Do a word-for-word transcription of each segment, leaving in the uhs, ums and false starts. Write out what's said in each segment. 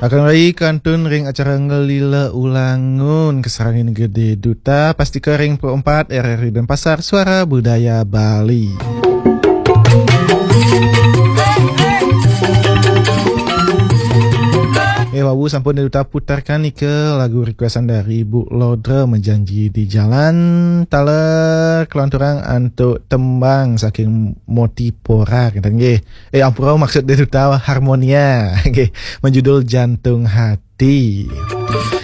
Akan rai kantun ring acara Ngelila Ulangun kasarengin Gede Duta, pastika ring Pro empat R R I Denpasar, Suara Budaya Bali. Eh, wau sampun Duta putarkan nika lagu requestan dari Bu Lodra, Menjanji di Jalan, taler kalanturang antuk tembang saking Motipora, kenten nggih. Eh, ampura, maksud Duta Harmonia. Nggih, menjudul Jantung Hati.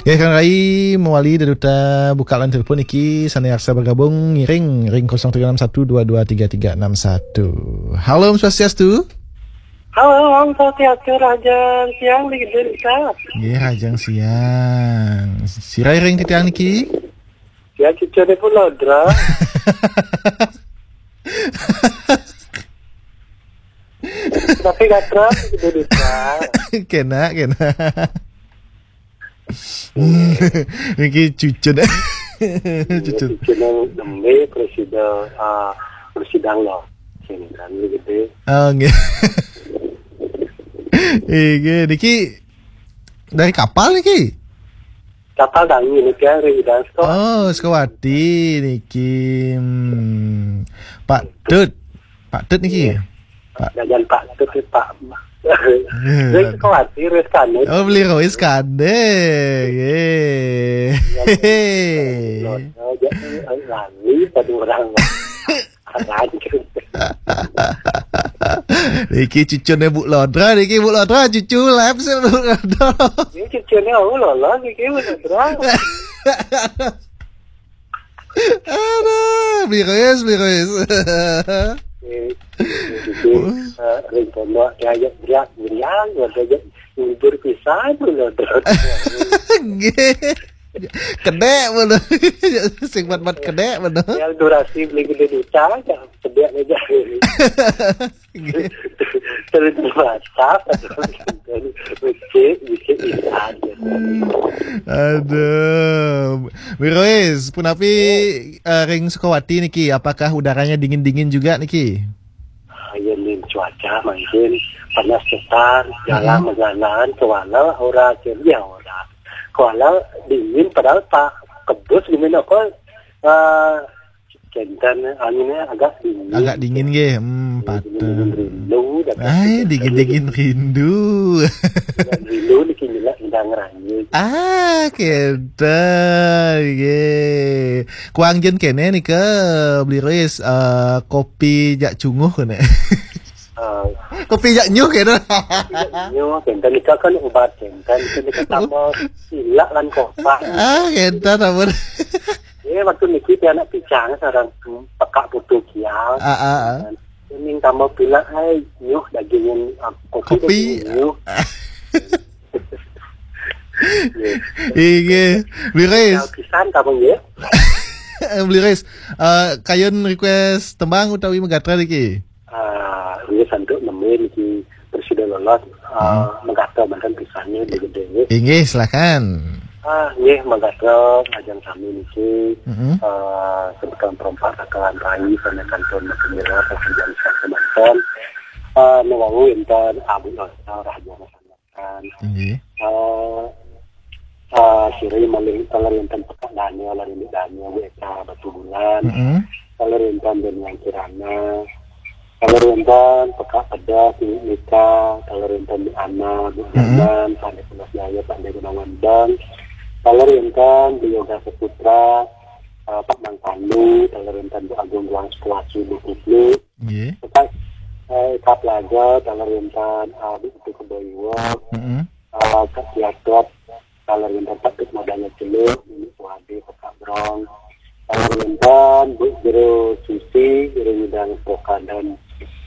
Nggih, Kang Rai, mawali Duta buka line telepon niki, sane arsa bergabung ngiring ring kosong tiga enam satu dua dua tiga tiga enam satu. Halo, Om Swastiastu. Halo, Om Swastiastu, rahajeng siang, Ning Duta. Nggih, rahajeng siang. Sira ring titiang niki? Ya, cucune Bu Lodra. Tapi gatra, Ning Duta. Kena, kena. Niki cucun. Cucun. Cucune nembe presiden, ah, presiden lo. Sini kan, gede. Oh, nggih. Nggih, niki dari kapal niki? Kapal tangi niki, ring Gudang Sukawati. Oh, Sukawati niki. Hmm. Pak Tut. Pak Tut niki. Iya. Pak. Jajan Pak Tut, Pak. Hmm. Ring Sukawati, ring Sukande. Oh, beli Rois Kande. Nggih. Iya, iya. Lali pada orang. Aran. Niki cucune Bu Lodra, niki Bu Lodra, cucu lab sih Bu Lodra. Ini cucune, oh, lolos, niki Bu Lodra. Aduh, beli Rois, beli Rois. Eh, cucu, eh, ring pondok, diajak beriak, beriak, diajak ngibur pisan, Bu Lodra. Nggih. Kedek bener. Sing mat-mat kedek bener. Yang durasi beli Gede Duta aja, sedek aja. Terus WhatsApp, terus becik, becik, iya aja. Aduh. Wirois, punapi, eh, ring Sukawati niki? Apakah udaranya dingin-dingin juga niki? Ah, iya, Nin, cuaca mungkin panas cetar, jalan, mm-mm, majalan, kewala ora, ya ora. Kewala dingin, padahal Pak Kebus gimana kok, eh, kenten, anginnya agak dingin. Agak dingin nggih, hmm, dingin, patut. Dingin rindu, dapat. Ai, dingin-dingin rindu. Dingin rindu niki nyelak indang ranyut. Ah, kenten nggih. Kuang jen kene nika, Beli Rois, eh, kopi jak cunguh kene. Ah. Kopi jak nyuh kene. Kopi jak nyuh, kenten nika kan obat kenten, kenten nika tambah silak lan kopak. Ah, kenten ampun. Iya, waktu niki pianak picang sareng pekak putu kial. Ah, ah, ah. Ning tambah pilek, ai, nyuh dagingin, ah, kopi. Kopi. Dagingin nyuh. Nggih. Inggih. Beli Rois. Pisan kamu, nggih. Beli Rois, eh, kayun request tembang utawi megatra niki? Ah, nggih, santuk nembé niki presida lolos, ah, hmm, megatra manten pisannya di gedé, nggih. Inggih, silakan. Ah, nggih, megatra ngajeng sami niki, mm-mm, ah, semeton perompak bakalan rai, sané kantun magemira, sané jam semanten. Ah, nu wau wénten Abu Lodra, rahajeng kan. Inggih. Eh, eh, sira malih taler wénten Pekak Daniel, Larindik Daniel, W K Batubulan. Mm-mm. Taler wénten Daniel Kirana. Taler wénten Pekak Pedas, Ibu Mika. Taler wénten Bu Ana, Bu, mm-mm, Danan, Pak Dé Pulas Jaya, Pak Dé Gunawan Bang. Taler wénten Bu Yoga Saputra, eh, Pak Mang Pandu. Taler wénten Bu Agung Guang Sekuasi, Bu Kuplu. Nggih. Lepas, eh, Kak Plaza, taler wénten, eh, Bu Putu Kebaiwa, mm-mm, eh, Kak Kiatot, taler wénten Pak Dut Madanya Celuk, Nini Puade, Pak Brong, taler wénten Bu Jero Susi, Jero Nyidang Poka dan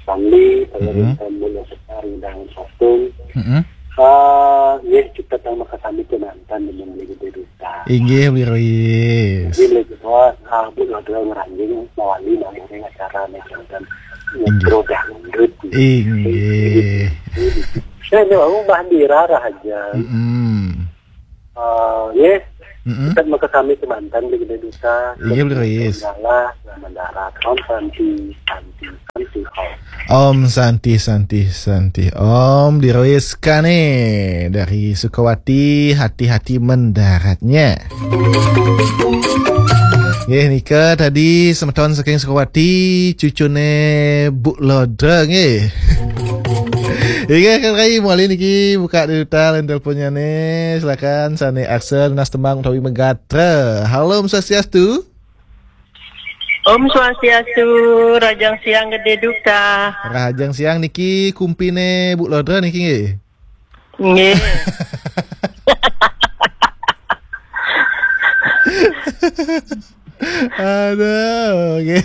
Sandi, taler, mm-mm, wénten Bu Sekar Nyidang Satung. Mm-mm. Eh, nggih, kita tang makasami kemanten dengan Beli Gede Duta. Inggih, Beli Rois. Inggih, Beli Gede Duta, ah, Bu Lodra ngranjing mawali nang ring acara nih, dan, inggih, ngobrol dangdut. Inggih. Saya nih, mau Mbah Dira aja. Mm-mm. Eh, nggih. Mm-mm. Kita maka kami kemantan di Gede Duta. Iya, betul, yes. Segala, selamat darat. Om Santi, Santi, Santi, Om. Om Santi, Santi, Santi. Om diroiskane dari Sukawati, hati-hati mendaratnya. Nggih, nika tadi semeton saking Sukawati, cucune Bu Lodra nggih. Inggih, Kang Rai, mawali niki buka di duta line teleponnya nih. Silakan, sane Axel, Nas Tembang utawi Megatra. Halo, Om Swastiastu. Om Swastiastu, Rahajeng Siang Gede Duta. Rahajeng Siang niki kumpine Bu Lodra niki nggih. Nggih. Aduh, nggih.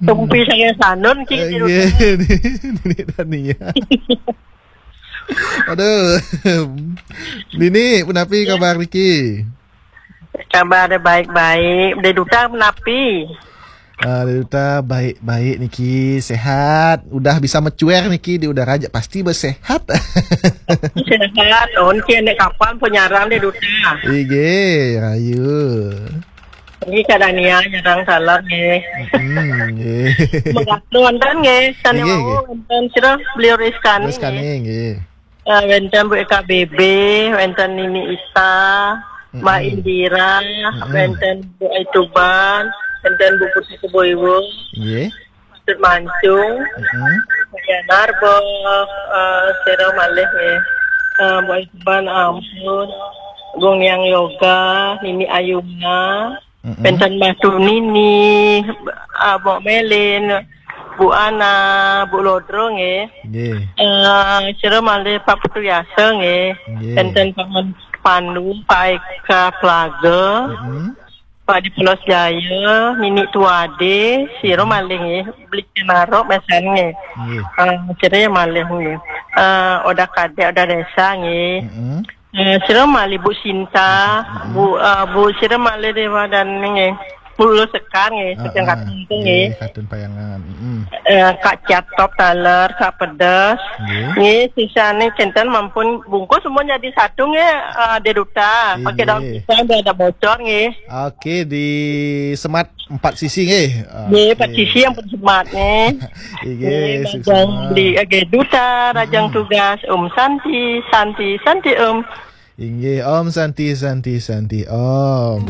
Tumpi saya sanun ki. Eh, di rumah. Nggih, Nini Dania. Aduh. Nini, punapi kabar niki? Kabar baik-baik. Gede Duta punapi? Ah, Gede Duta baik-baik niki, sehat. Udah bisa mecuer niki di udara aja pasti bersehat. Sehat. Oh, niki nek kapan penyarang Gede Duta? Ige, rayu. Ini kadang nia nyerang salah nggih. Hmm, nggih. Megatra wonten nggih. Sane wau wonten sira beliau Rizkani. Rizkani nggih. Eh, wonten Bu Eka B B, wonten Nini Ita, Mbak Indira, wonten Bu Aituban, wonten Bu Putri Keboiwo, nggih. Maksud Mancung, Mbak Narbo, eh, sira malih nggih. Eh, Bu Aituban ampun, Gung Yang Yoga, Nini Ayuna, wonten Mbak Tunini, eh, Mbok Melin, Bu Ana, Bu Lodro nggih. Nggih. Eh, sira malih Pak Putu Yasa nggih. Nggih. Wonten Pak Man-, Pandu, Pak Eka Plaga, Pak Dipulos Jaya, Nini Tuade, sira malih nggih. Beli Kenaro mesan nggih. Nggih. Eh, sira malih nggih. Eh, Oda Kadek, Oda Desa nggih. Eh, sira malih Bu Sinta, Bu, eh, Bu sira malih Dewa dan nggih. Bu Sekar nggih, Setiang Katun nggih. Katun Payangan. Eh, Kak Ciatop taler, Kak Pedes. Nggih. Nggih, sisane kenten mampun bungkus semua jadi satu nggih, eh, Gede Duta. Pakai daun pisang biar ada bocor nggih. Oke, di semat empat sisi nggih. Nggih, empat sisi yang pun semat nggih. Nggih, Gede Duta, Rahajeng tugas, Om Santi, Santi, Santi Om. Inggih, Om Santi, Santi, Santi, Om.